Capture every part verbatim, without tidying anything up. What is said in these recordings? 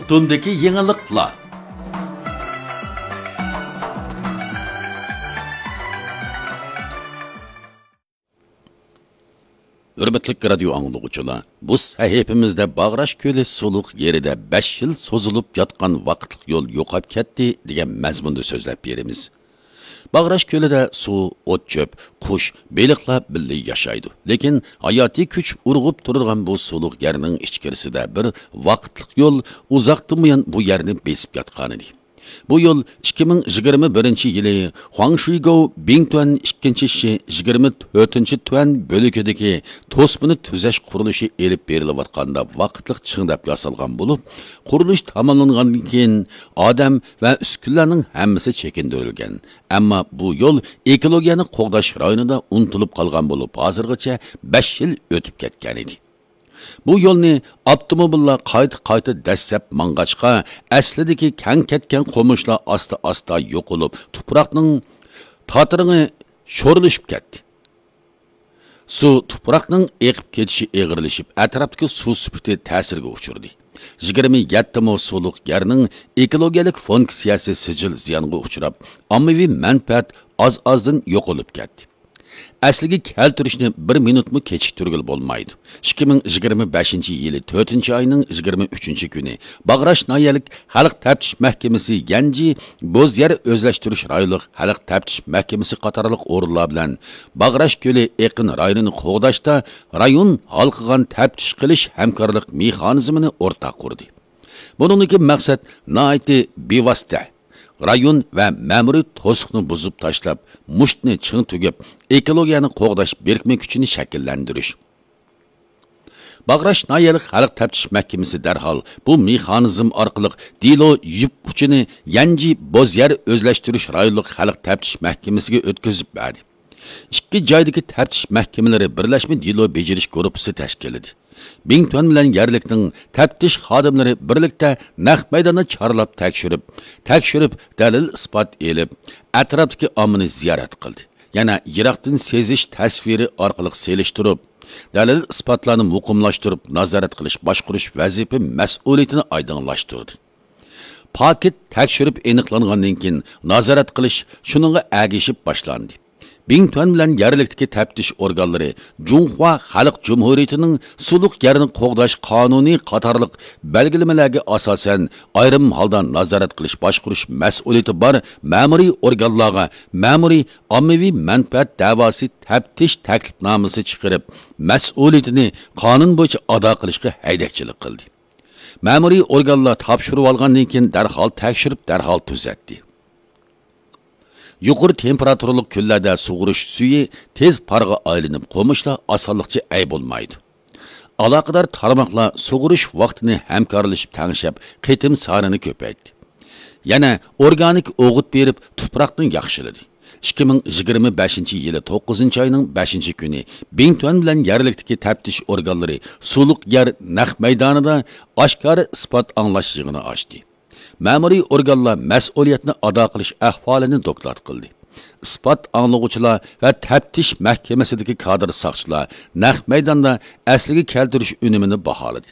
تۈندىكى يېڭىلىقلار. ھۆرمەتلىك رادىيو ئاڭلىغۇچىلار، بۇ سەھىپىمىزدە باغراش كۆلى سۇلۇق يېرىدە بەش يىل سوزۇلۇپ ياتقان ۋاقىتلىق يول يوقاپ كەتتى دېگەن مەزمۇندا سۆزلەپ بېرىمىز. باغراش كۆلىدە سۇ، ئوت-چۆپ، قۇش، بېلىقلار بىللە ياشايدۇ. لېكىن ھاياتىي كۈچ ئۇرغۇپ تۇرىدىغان بۇ سۇلۇق يەرنىڭ ئىچكىرىسىدە بىر ۋاقىتلىق يول ئۇزاقتىن بۇيان بۇ يەرنى بېسىپ ياتقانىدى. بۇ يول ئىككى مىڭ يىگىرمە بىرىنچى يىلى خۇاڭشۈيگوۋ بىڭتۈەن ئىككىنچى شى يىگىرمە تۆتىنچى تۈەن بۆلىكىدىكى توسمىنى تۈزەش قۇرۇلۇشى ئېلىپ بېرىلىۋاتقاندا ۋاقىتلىق چىڭداپ ياسالغان بولۇپ، قۇرۇلۇش تاماملانغاندىن كېيىن ئادەم ۋە ئۈسكۈنىلەرنىڭ ھەممىسى چېكىندۈرۈلگەن. ئەمما بۇ يول ئېكولوگىيەنى قوغداش رايونىدا ئۇنتۇلۇپ قالغان بولۇپ، ھازىرغىچە بەش يىل ئۆتۈپ كەتكەنىدى. بۇ يولنى ئاپتوموبىللار قايتا-قايتا دەسسەپ ماڭغاچقا، ئەسلىدىكى كەڭ كەتكەن قومۇشلار ئاستا-ئاستا يوقىلىپ، تۇپراقنىڭ تاتىرىڭى شورلىشىپ كەتتى. سۇ تۇپراقنىڭ ئېقىپ كېتىشى ئېغىرلىشىپ، ئەتراپتىكى سۇ سۈپىتى تەسىرگە ئۇچرىدى. يىگىرمە يەتتە مو سۇلۇق يەرنىڭ ئېكولوگىيەلىك فۇنكسىيەسى سىجىل زىيانغا ئۇچراپ، ئاممىۋى مەنپەئەت ئاز-ئازدىن يوقىلىپ كەتتى. ئەسلىگە كەلتۈرۈشنى بىر مىنۇتمۇ كېچىكتۈرگىلى بولمايدۇ. ئىككى مىڭ يىگىرمە بەشىنچى يىلى تۆتىنچى ئاينىڭ يىگىرمە ئۈچىنچى كۈنى باغراش ناھىيەلىك خەلق تەپتىش مەھكىمىسى يەنجى بوز يەر ئۆزلەشتۈرۈش رايونلۇق خەلق تەپتىش مەھكىمىسى قاتارلىق ئورۇنلار بىلەن باغراش كۆلى ئېقىن رايونىنى قوغداشتا رايون ھالقىغان تەپتىش قىلىش ھەمكارلىق مېخانىزمىنى ئورتاق قۇردى. بۇنىڭدىكى مەقسەت ناھايىتى بىۋاسىتە، رايون ۋە مەمۇرىي توسۇقنى بۇزۇپ تاشلاپ، مۇشتنى چىڭ تۈگۈپ، ئېكولوگىيەنى قوغداش بىرىكمە كۈچىنى شەكىللەندۈرۈش. باغراش ناھىيەلىك خەلق تەپتىش مەھكىمىسى دەرھال بۇ مېخانىزم ئارقىلىق دېلو يۈپ ئۇچىنى يەنجى بوز يەر ئۆزلەشتۈرۈش رايونلۇق خەلق تەپتىش مەھكىمىسىگە ئۆتكۈزۈپ بەردى. ئىككى جايدىكى تەپتىش مەھكىمىلىرى بىرلەشمە دېلو بېجىرىش گۇرۇپپىسى تەشكىللىدى. بىڭتۈەن بىلەن يەرلىكنىڭ تەپتىش خادىملىرى بىرلىكتە نەق مەيداندا چارلاپ تەكشۈرۈپ، تەكشۈرۈپ، دەلىل-ئىسپات ئېلىپ، ئەتراپتىكى ئاممىنى زىيارەت قىلدى. يەنە يىراقتىن سېزىش تەسۋىرى ئارقىلىق سېلىشتۇرۇپ، دەلىل-ئىسپاتلارنى مۇقىملاشتۇرۇپ، نازارەت قىلىش باشقۇرۇش ۋەزىپە مەسئۇلىيىتىنى ئايدىڭلاشتۇردى. پاكىت تەكشۈرۈپ ئېنىقلانغاندىن كېيىن، نازارەت قىلىش شۇنىڭغا ئەگىشىپ باشلاندى. بىڭتۈەن بىلەن يەرلىكتىكى تەپتىش ئورگانلىرى جۇڭخۇا خەلق جۇمھۇرىيىتىنىڭ سۇلۇق يەرنى قوغداش قانۇنى قاتارلىق بەلگىلىمىلەرگە ئاساسەن، ئايرىم ھالدا نازارەت قىلىش باشقۇرۇش مەسئۇلىيىتى بار مەمۇرىي ئورگانلارغا مەمۇرىي ئاممىۋى مەنپەئەت دەۋاسى تەپتىش تەكلىپنامىسى چىقىرىپ، مەسئۇلىيىتىنى قانۇن بويىچە ئادا قىلىشقا ھەيدەكچىلىك قىلدى. مەمۇرىي ئورگانلار تاپشۇرۇۋالغاندىن كېيىن دەرھال تەكشۈرۈپ، دەرھال تۈزەتتى. يۇقىرى تېمپېراتۇرىلىق كۈنلەردە سۇغۇرۇش سۈيى تېز پارغا ئايلىنىپ، قومۇشلار ئاسانلىقچە ئەي بولمايدۇ. ئالاقىدار تارماقلار سۇغۇرۇش ۋاقتىنى ھەمكارلىشىپ تەڭشەپ، قېتىم سانىنى كۆپەيتتى. يەنە ئورگانىك ئوغۇت بېرىپ، تۇپراقنى ياخشىلىدى. ئىككى مىڭ يىگىرمە بەشىنچى يىلى توققۇزىنچى ئاينىڭ بەشىنچى كۈنى بىڭتۈەن بىلەن يەرلىكتىكى تەپتىش ئورگانلىرى سۇلۇق يەر نەق مەيدانىدا ئاشكارا ئىسپات ئاڭلاش يىغىنى ئاچتى. مەمۇرىي ئورگانلار مەسئۇلىيەتنى ئادا قىلىش ئەھۋالىنى دوكلات قىلدى. ئىسپات ئاڭلىغۇچىلار ۋە تەپتىش مەھكىمىسىدىكى كادىر ساقچىلار نەق مەيداندا ئەسلىگە كەلتۈرۈش ئۈنۈمىنى باھالىدى.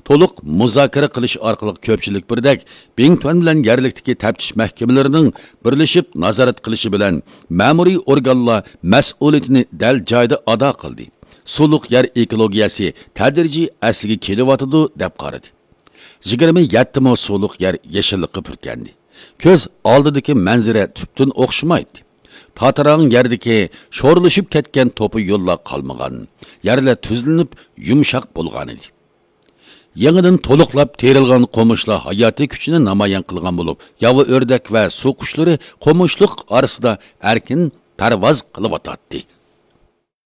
تولۇق مۇزاكىرە قىلىش ئارقىلىق كۆپچىلىك بىردەك بىڭتۈەن بىلەن يەرلىكتىكى تەپتىش مەھكىمىلىرىنىڭ بىرلىشىپ نازارەت قىلىشى بىلەن مەمۇرىي ئورگانلار مەسئۇلىيىتىنى دەل جايىدا ئادا قىلدى. سۇلۇق يەر ئېكولوگىيەسى تەدرىجىي ئەسلىگە كېلىۋاتىدۇ، دەپ قارىدى. يىگىرمە يەتتە مو سۇلۇق يەر يېشىللىققا پۈركەندى. كۆز ئالدىدىكى مەنزىرە تۈپتىن ئوخشىمايتتى. تاتىراڭ يەردىكى شورلىشىپ كەتكەن توپا يوللار قالمىغان، يەرلەر تۈزلىنىپ يۇمشاق بولغانىدى. يېڭىدىن تولۇقلاپ تېرىلغان قومۇشلار ھاياتىي كۈچىنى نامايان قىلغان بولۇپ، ياۋا ئۆردەك ۋە سۇ قۇشلىرى قومۇشلۇق ئارىسىدا ئەركىن پەرۋاز قىلىۋاتاتتى.